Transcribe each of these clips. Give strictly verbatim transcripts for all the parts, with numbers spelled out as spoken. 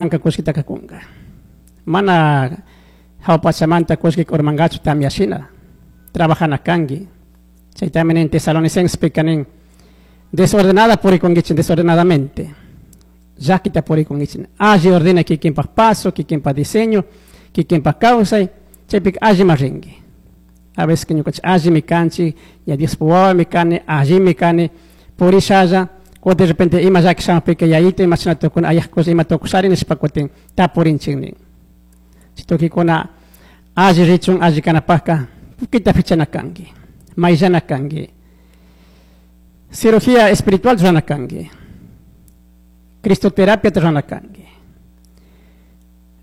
Anka kullkitaka kunka. Mana jahua pachamanta kullki urmangachu tamyashina. Trabajana kanki. Chaytami nin Tesalonicensespica nin desordenada purikunkichik desordenadamente. Llakita purikunkichik. Alli ordena kikinpak paso, kikinpak diseño, kikinpak kawsay, chaypika allima rinki. A veces que ñukanchik allimi kanchik, ña Diospuk wawami kani, allimi kani, purishalla, o de repente ima llaki shamukpika yayito ima chashna tukuna ayajkush ima tukushari nishpa kutin tapurinchik nin. Chay tukikuna alli richun, alli kanapakka tukuyta fichana kanki, mayllana kanki. Cirugía espiritual rurana kanki. Cristoterapia rurana kanki.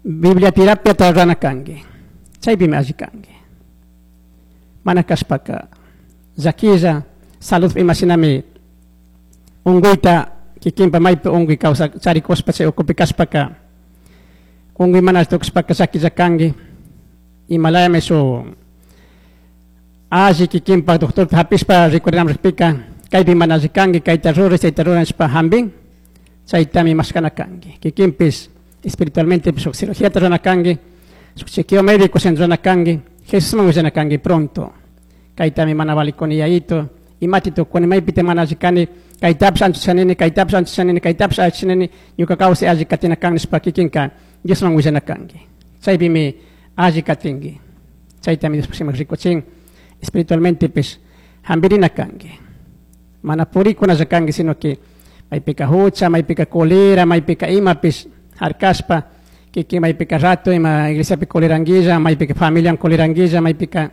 Biblia terapia rurana kanki. Chaypimi alli kanki. Mana kashpaka llakilla salud imashinami unkuyta kikinpa maypi unkuy kawsa charikushpa chay ukupi kashpaka unkuy mana tukushpaka llakilla kanki imalayami shuk alli kikinpa doctorta hapishpa rikurinam rikpika kaypi mana alli kanki kayta ruray chayta ruray nishpa hampin chaytami mashkana kanki kikinpish espiritualmente shuk cirugíata rurana kanki shuk chequeo médico rurana kanki Jesusman willana kanki pronto kaytami mana valikuni yayito imati tukuni maypita mana alli kani kaytapish anchushanini kaytapish anchushanini kaytapish allichinini ñuka kawsay alli katina kan nishpa kikinka Diosman willana kanki chaypimi alli katinki chaytami Diospuk shimipi rikuchin espiritualmente pish hampirina kanki mana purikunalla kanki sino que maypika hucha maypika colera maypika imapish harkashpa kikin maypika rato ima iglesiapi coleranguilla maypika familian coleranguilla maypika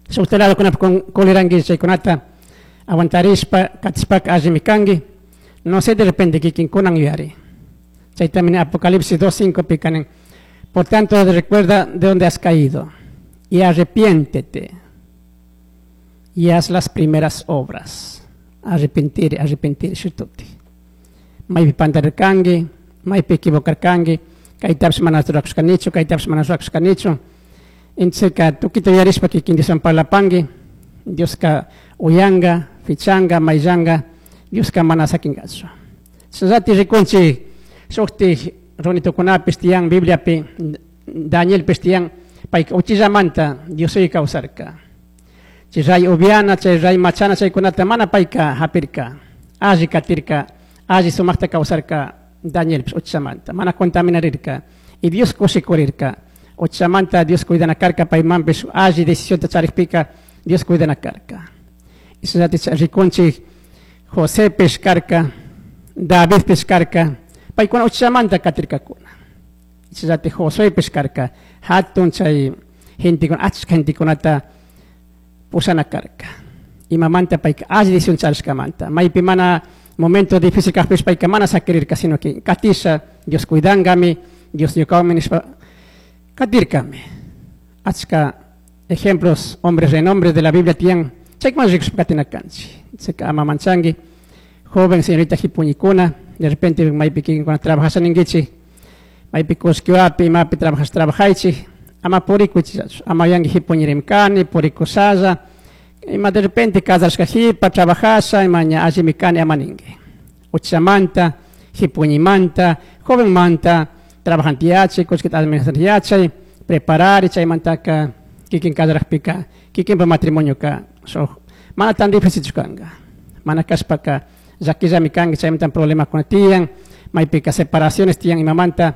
shukta ladokunapi coleranguilla chaykunata aguantarishpa katishpaka allimi kanki no sé de repente kikinkunan yuyari chaytami nin Apocalipsis dos cinco pika nin por tanto recuerda de dónde has caído y arrepiéntete y haz las primeras obras. Arrepentir, arrepentir, shituti. Maypi pantarirkanki, maypi equivocarkanki, kaytapish mana rurakushkanichu, kaytapish mana rurakushkanichu. Entonces tukuyta yuyarishpa kikin Dioswan parlapanki, Dioska uyanka, fichanga, mayllanga, Dioska mana sakinkachu. Chashnallati rikunchik shuktik runitukunapish tiyan Bibliapi, Danielpish tiyan, payka uchillamanta Diosuy kawsarka. Chay ray upiana, chay ray machana chaykunata mana payka hapirka, alli katirka, alli sumakta kawsarka Danielpish uchillamanta, mana contaminarirka. Y Dios kushikurirka. Uchillamanta Dios cuidana karka, paymanpish alli decisionta charikpika Dios cuidana karka. Chashnallati rikunchik Josepish karka, Davidpish karka, paykuna uchillamanta katirkakuna. Chashnallati Josuepish karka, hatun chay gentekuna, achka gentekunata pushana karka. Imamanta payka alli decisión charishkamanta. Maypi mana momento difícil kakpish payka mana sakirirka, sino que katisha Dios cuidankami, Dios ñukawanmi nishpa katirkami. Achka ejemplos, hombres renombres de la Biblia tiyan, chaykuman rikushpa katina kanchik. Chayka ama manchanki, joven señorita hipuñikuna, de repente maypi kikinkuna trabajasha ninkichik, maypi kullkiwapi, imapi trabajas trabajaychik, ama purikuychik, ama yanki hipuñirim kani, purikushalla, ima de repente casarashka jipa, trabajasha, ima ña allimi kani ama ninki. Uchamanta, hipuñimanta, jovenmanta, trabajante yachay, kullkita administrar yachay, preparar, chaymantaka kikin casarajpika, kikinpa matrimonioka, so, mana tan difícil kanka. Mana kashpaka llakillami kanki, chaymantan problemakuna tiyan, maypika separaciones tiyan imamanta,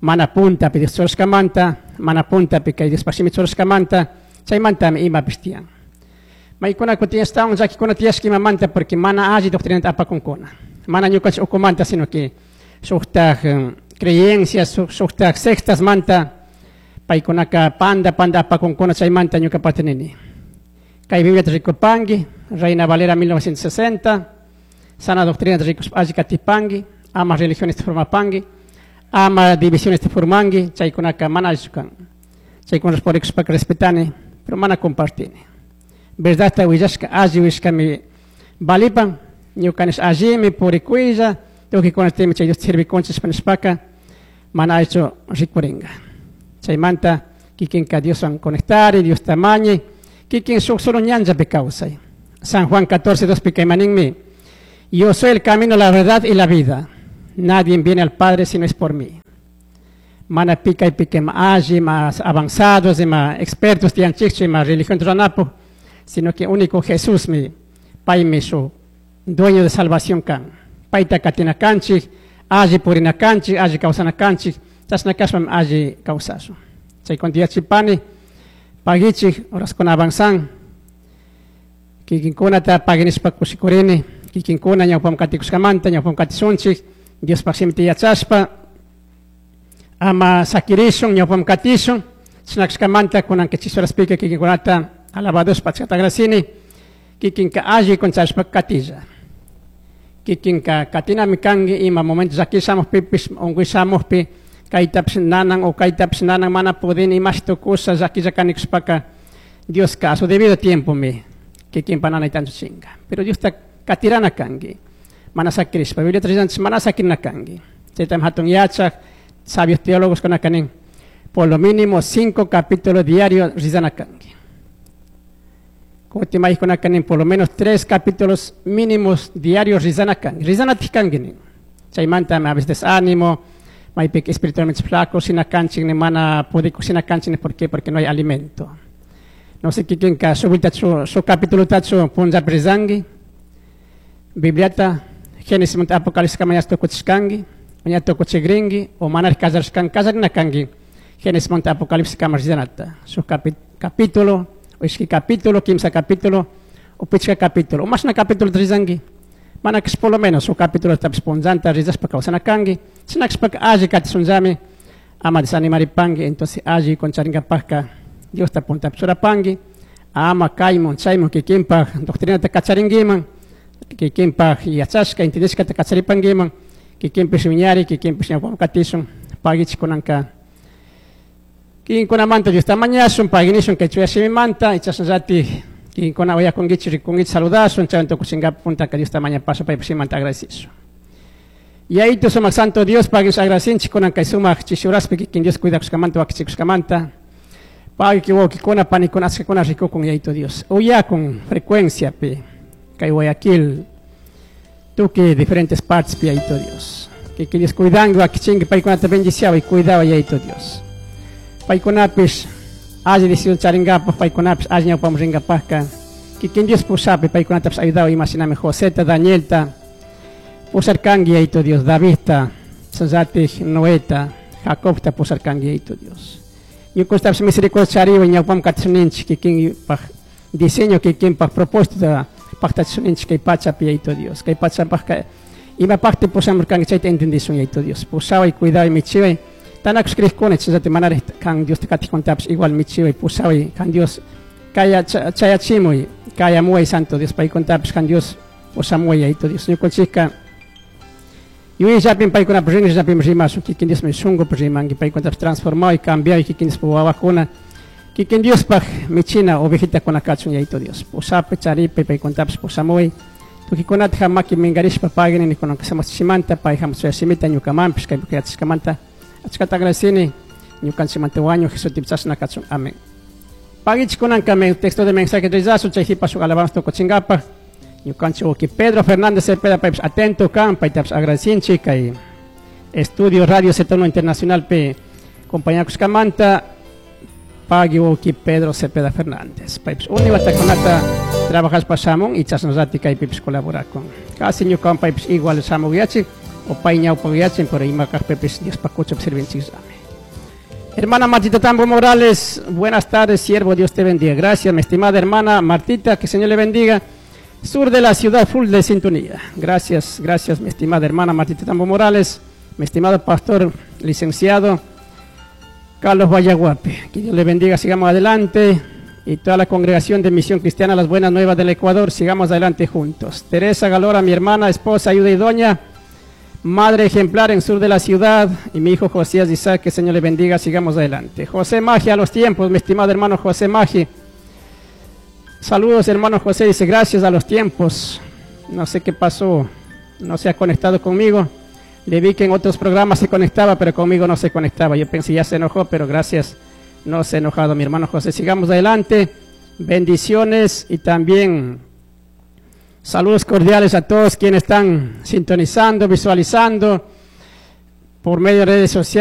mana puntapi Dios churashkamanta, mana puntapi kay Diospaj shimi churashkamanta, chaymantami imapish tiyan. Maykuna kutin ashtawan llakikuna tiyashka imamanta porque mana alli doctrinata apakunkuna. Mana ñukanchik ukumanta, sino que shuktak creencias, shuktak sectas manta, paykunaka panda, panda apakunkuna, chaymanta ñukapata nini. Kay Bibliata rikupanki, Reina Valera mil novecientos sesenta, sana doctrina rikushpa alli katipanki, ama religiones formapanki, ama divisiones formanki, chaykunaka mana allichu kan. Chaykuna purikushpaka respetani, pero mana compartini. Verdadta willashka alli willashkami valipan, ñukanish allimi purikuylla, tukuykunatimi chay Dios sirvikunchik nishpaka, mana allichu rikurinka. Chaymanta kikinka Dioswan conectari, Diosta mañi, kikin shuk solo ñanllapi kawsay. San Juan catorce, dos pika imaninmi, yo soy el camino, la verdad y la vida. Nadie viene al Padre si no es por mí. Mana pica y pique más alli, más avanzados, y más expertos tiyanchikchu, más religión ruranapu, sino que único Jesús mi paymi su dueño de salvación kan. Payta katina kanchik, alli purina kanchik, alli kawsana kanchik, chashna kashpami alli kawsashun. Chaykunata yachipani, pagichik, horaskuna avanzan, kikinkunata paginishpa kushikurini, kikinkuna ñawpaman katikushkamanta, ñawpaman katishunchik, Diospaj shimita yachashpa, ama sakirishun, ñawpaman katishun, chashna kashkamanta kunanka chishi horaspika kikinkunata alabadoshpa achkata agradecini, kikinka alli kunchashpa katilla. Kikinka katinami kanki ima momento llaki shamukpipish, unkuy shamukpi, kaytapish nanan o kaytapish nanan mana pudini imashi tukusha llakilla kanikushpaka Dioska a su debido tiempo mi kikinpa nanayta anchuchinka. Pero Diosta katirana kanki, mana sakirishpa, Bibliata rillanchik mana sakirina kanki. Chaytami hatun yachak, sabios teólogos kunaka nin, por lo mínimo cinco capítulos diarios rizana kanki. Kutin maykunaka nin, por lo menos tres capítulos mínimos diarios rizana kanki. Rizanatik kanki nin. Chaymanta a veces desánimo, maypika espiritualmente flaco, shina kanchik ni mana pudikuq shina kanchik ni, ¿por qué? Porque no hay alimento. No sé kikinka shuk vueltachu, shuk capitulutachu punllapi rizanki, Bibliata Génesis manta Apocalipsis kama ña tukuchishkanki, ña tukuchikrinki, o manaraj kallarishkanki, kallarina kanki, Génesis manta Apocalipsis kama rizanata. Shuk capi-, capítulo, o ishki capítulo, kimsa capítulo, o pichka capítulo, o mashna capítulo rizanki, mana kashpa por lo menos shuk capítulo tapish punllanta rizashpa kawsana kanki, chashna kashpaka alli katishunllami, ama desanimaripanki, entonces alli concharinkapajka Diosta puntapi churapanki, ama kaymun chaymun kikinpaj doctrinata kacharinkiman, kikinpaj yachashka, entendishkata kacharipankiman, kikinpish wiñari, kikinpish ñawpaman katishun, pagichik kunanka. Kikinkunamanta Diosta mañashun, paginishun kay chuya shimimanta, chashnallatik kikinkuna uyakunkichik, rikunkichik, saludashun, chaywan tukuchinkapa puntaka Diosta mañapashun, paypaj shimimanta agradecishun. Yayitu sumak Santo Dios, pagish agradecinchik kunan kay sumak chishi horaspi kikin Dios cuidakushkamanta, wakichikushkamanta. Pagui wawkikuna, panikuna, achkakuna rikukun Yayitu Dios. Uyakun frecuencia pi, kay Guayaquil, tukuy diferentes partes pi Yayitu Dios. Kikin Dios cuidanki, wakichinki, paykunata bendiciaba y cuidaba Yayitu Dios. Paykunapish alli decisión charinkapak, paykunapish alli ñawpaman rinkapakka. Kikin Dios pushapi, paykunatapish ayudaba imashinami Joseta, Danielta, pusharkanki Yayitu Dios, Davidta, chasnallatik Noeta, Jacobta pusharkanki Yayitu Dios. Ñukanchiktapish misericordia chariwa ñawpaman katishunninchik kikinpaj diseño, kikinpaj propósito paktachishunninchik kay pachapi Yayitu Dios. Kay pachapajka imapakti pushamurkanki chayta entendishun Yayitu Dios. Pushaway, cuidaway, michiway. Tanakush crejkuna chasnallatik manaraj kan Diosta katijkunatapish igual michiway, pushaway, kan Dios kaya chayachimuy, kayamuway Santo Dios, paykunatapish kan Dios pushamuway Yayitu Dios. Ñukanchikka yuyayllapim paykunapish rinrillapim rimashun, kikin Diosmi shunkupi rimanki, paykunatapish transformaway, cambiaway, kikin Diospaj wawakuna, kikin Diospaj michina ovejitakuna kachun Yayitu Dios. Pushapi, charipi, paykunatapish pushamuway. Tukikunata maki minkarishpa pagini nikunanka samachishimanta, pay hamush shimita ñukamanpish kaypi yachashkamanta. Achkata agradecini, ñukanchikmanta wañu Jesustipi chashna kachun. Amén. Pagichik kunanka me texto de mensaje rizasun, chay jipa shuk alabanza tukuchinkapaj. Ñukanchik wawki Pedro Fernández Cepeda paypish atento kan, paytapish agradecinchik kay Estudio Radio Z uno Internacional pe compañakushkamanta, pagui wawki Pedro Cepeda Fernández. Paypish uni watakunata trabajashpa shamun y chashnallati kaypipish colaborakun. Casi ñukan paypish igual shamuyachik, o pay ñawpayachin, pero ima kajpipish Diospaj kuchapi sirvinchikllami. Hermana Martita Tambo Morales, buenas tardes, siervo, Dios te bendiga. Gracias, mi estimada hermana Martita, que el Señor le bendiga. Sur de la ciudad, full de sintonía. Gracias, gracias, mi estimada hermana Martita Tambo Morales, mi estimado pastor licenciado Carlos Vallaguape. Que Dios le bendiga, sigamos adelante. Y toda la congregación de Misión Cristiana Las Buenas Nuevas del Ecuador, sigamos adelante juntos. Teresa Galora, mi hermana, esposa, ayuda y doña, madre ejemplar en sur de la ciudad, y mi hijo Josías Isaac, que el Señor le bendiga, sigamos adelante. José Magi, a los tiempos, mi estimado hermano José Magi. Saludos, hermano José, dice, gracias a los tiempos. No sé qué pasó, no se ha conectado conmigo. Le vi que en otros programas se conectaba, pero conmigo no se conectaba. Yo pensé, ya se enojó, pero gracias, no se ha enojado mi hermano José. Sigamos adelante. Bendiciones y también saludos cordiales a todos quienes están sintonizando, visualizando. Por medio de redes sociales.